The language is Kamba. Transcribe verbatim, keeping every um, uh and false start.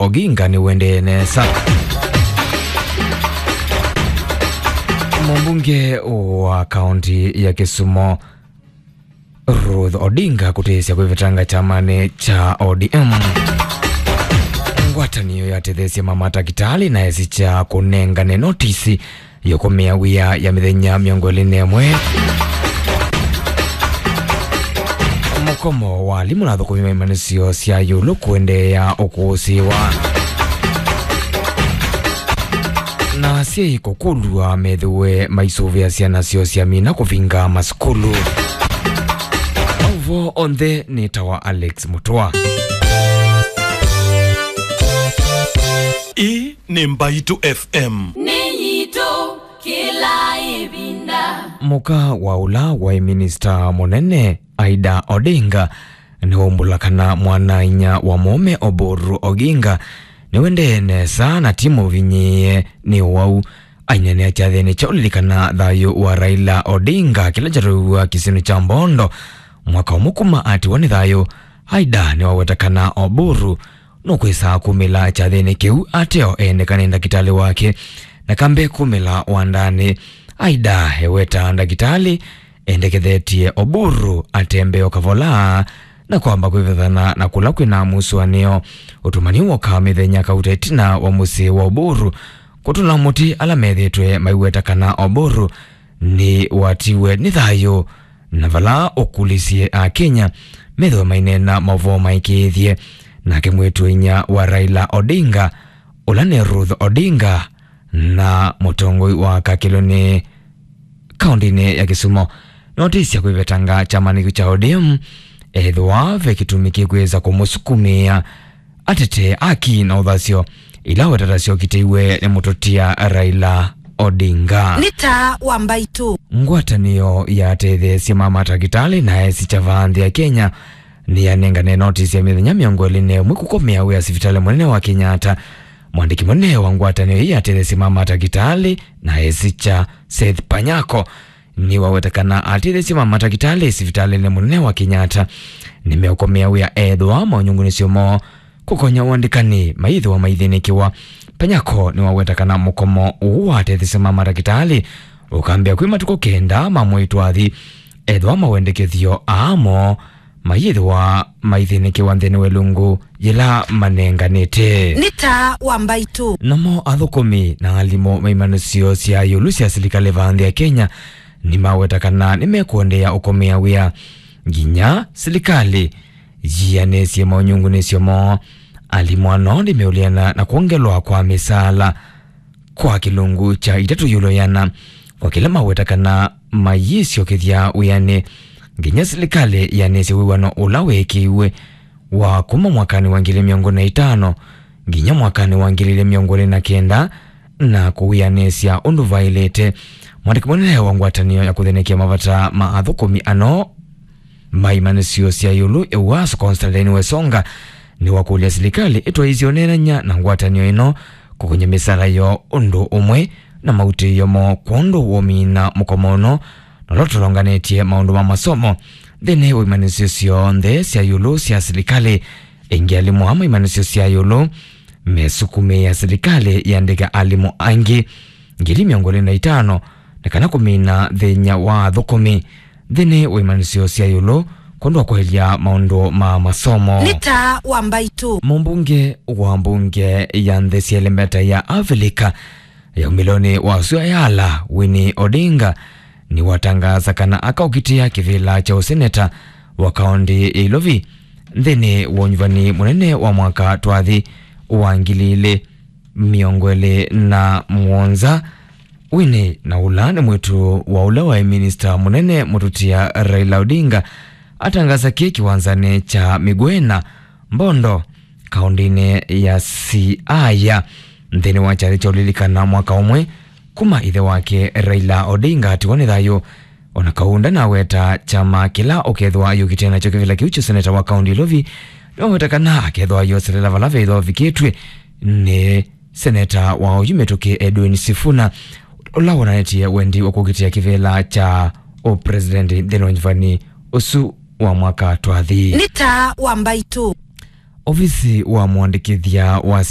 Oginga nĩwendee nesa. Mũmbunge wa kaunti ya Kisumu, Ruth Odinga kũtĩsya kwĩvetanga kyamanĩ kya O D M. Ngwatanĩo yatetheesye mama takitali na esi kya kũnengane notisi yũkũmĩa wĩa ya mĩthenya mĩongo ĩlĩ na ĩmwe. Mũkomo wa alimũ na athũkũmi ma imanyĩsyo sya ĩũlũ kũendeea ũkũsĩĩwa. Na asyai kũkũlw'a methĩwe maisũvĩa syana syoo syamina kũvinga masukulu. Maũvoo onthe nĩtawa Alex Mũtũa. Ĩĩ nĩ Mbaitũ F M. Nĩ yitũ kĩla ĩvinda. Mũka wa ũla waĩ minista mũnene Aida Odinga nĩwaumbũla kana mwana-a-inyia wa mũũme Oburu Oginga nĩwendee nesa na ti mũvinyĩĩe nĩ ũwau. Aineenea kyathĩnĩ kya ũlilikana thayũ wa Raila Odinga kĩla kyatũiw'a kĩsionĩ kya Mbondo mwaka ũmwe kuma atiwa nĩ thayũ, Aida nĩwaweta kana Oburu nũkwĩsa kumĩla kyathĩnĩ kĩu ateo ene kana ndakĩtalĩ wake, na kambe kumĩla wandanĩ. Aida eweta ndakĩtalĩ endekethetye Oburu atembee o kavola na kwamba kwĩvethana na kũla kwĩna mũsũanĩo. Ũtũmani woka mĩthenya kauta ĩtina wa mũsyĩ wa Oburu kũtũla mũtĩ ala methĩtwe maiweta kana Oburu nĩwatiwe nĩ thayũ, na vala ũkulisye Akenya methĩwe maineena maũvoo maĩkĩĩthye. Nake mwĩĩtu-a-inyia wa Raila Odinga, ũla nĩ Ruth Odinga, na mũtongoi wa Kakĩlũnĩ kaũntĩnĩ ya Kisumu, notĩsya kwĩvetanga kyamanĩ kĩu kya O D M ethĩwa ve kĩtumi kĩkwĩsa kũmũsukumĩa atetee aki na ũthasyo ila wetata syokitĩiwe nĩ mũtũtia Raila Odinga. Nĩ taa wa Mbaitũ. Ngwatanĩo yatetheesye mama takitali na esi kya vaa nthĩ ya Kenya nĩyanengane notisi ya mĩthenya mĩongo ĩlĩ na ĩmwe kũkomea wĩa sivitalĩ mũnene wa Kenyatta. Mwandĩki mũnene wa ngwatanĩo ĩĩ yatetheesye mama takitali na esi kya Seth Panyako nĩwaweta kana atetheesye ma matakĩtalĩ sivitalĩnĩ mũnene wa Kenyatta nĩmeũkomea wĩa ethĩwa maũnyungunĩsyo moo kũkonya ũandĩkani mayĩthĩwa maithĩnĩkĩwa. Panyako nĩwaweta kana mũkomo ũũ watetheesye ma matakĩtalĩ ũkambĩa kwĩ matukũ kenda ma mwei twathi ethĩwa mawendekethyo aa moo mayĩthĩwa maithĩnĩkĩwa nthĩnĩ wa ĩlungu yĩla manenganĩte. Nĩ taa wa Mbaitũ. Namo athũkũmi na alimũ ma imanyĩsyo sya ĩũlũ sya silikalĩ vaa nthĩ ya Kenya nĩmaweta kana nĩmekũendeea ũkomea wĩa nginya silikalĩ yianĩsye maũnyungunĩsyo moo. Alimũ ano nĩmeũleana na kwongelwa kwa mĩsaala kwa kĩlungu kya itatũ ĩũlũ ĩana, o kĩla maweta kana mayĩsyokethya wĩanĩ nginya silikalĩ yanĩsye wĩw'ano ũla weekĩiwe wa kuma mwakanĩ wa ngili mĩongo na itano nginya mwakanĩ wa ngili ilĩ mĩongo ĩlĩ na kenda na kũwĩanĩsya ũndũ vaĩlĩte. Mwandĩki mũnene wa ngwatanĩo ya kũthĩnĩkĩa mavata ma athũkũmi ano ma imanyĩsyo sya ĩũlũ, Euaso Constantine Wesonga, nĩwakũlya silikalĩ ĩtwaĩĩsye ũneenany'a na ngwatanĩo ĩno kũkũny'a mĩsaala yoo ũndũ ũmwe na mautĩĩo moo kwondũ wa ũmina mũkomo ũno na ũla ũtolonganĩtye maũndũ ma masomo nthĩnĩ wa imanyĩsyo syonthe sya ĩũlũ sya silikalĩ. Ĩngĩ alimũ aa ma imanyĩsyo sya ĩũlũ mesukumĩĩa silikalĩ yĩandĩke alimũ angĩ ngili mĩongo ĩlĩ na itano nĩ kana kũmina thĩny'a wa athũkũmi nthĩnĩ wa imanyĩsyo sya ĩũlũ kwondũ wa kwaĩlya maũndũ ma masomo. Nĩ taa wa Mbaitũ. Mũmbunge wa mbunge ya nthĩ sya ĩlembeta ya Avilika ya umĩlonĩ wa sua ya ala, Winnie Odinga, nĩwatangaasa kana akaũkitĩa kĩvĩla kya ũseneta wa kaũntĩ ya Ilovi nthĩnĩ wa ũnyuvani mũnene wa mwaka twathi wa ngili ilĩ mĩongo ĩlĩ na mũonza. Winnie, na ũla nĩ mwĩĩtu wa ũla waĩ minista mũnene mũtũtia Raila Odinga, atangaasa kĩĩ kĩwanzanĩ kya Migwena, Mbondo, kaũntĩnĩ ya Siaya, nthĩnĩ wa kyathĩ kya ũlilikana mwaka ũmwe kuma ĩthe wake Raila Odinga atiwa nĩ thayũ. O na kau ndanaweta kyama kĩla ũkethĩwa ayũkĩte nakyo kĩvĩla kĩu kya seneta wa kaũntĩ Ilovi, nĩwaweta kana akethĩwa ayoselela vala vethĩwa ũvikĩtw'e nĩ seneta wa oyu mĩtũkĩ Edwin Sifuna, ũla wonanĩtye wendi wa kũkitĩa kĩvĩla kya ũpresident nthĩnĩ wa nyuvani ũsu wa mwaka twathi. Nĩ taa wa Mbaitũ. Ovisi wa mũandĩkĩthya wa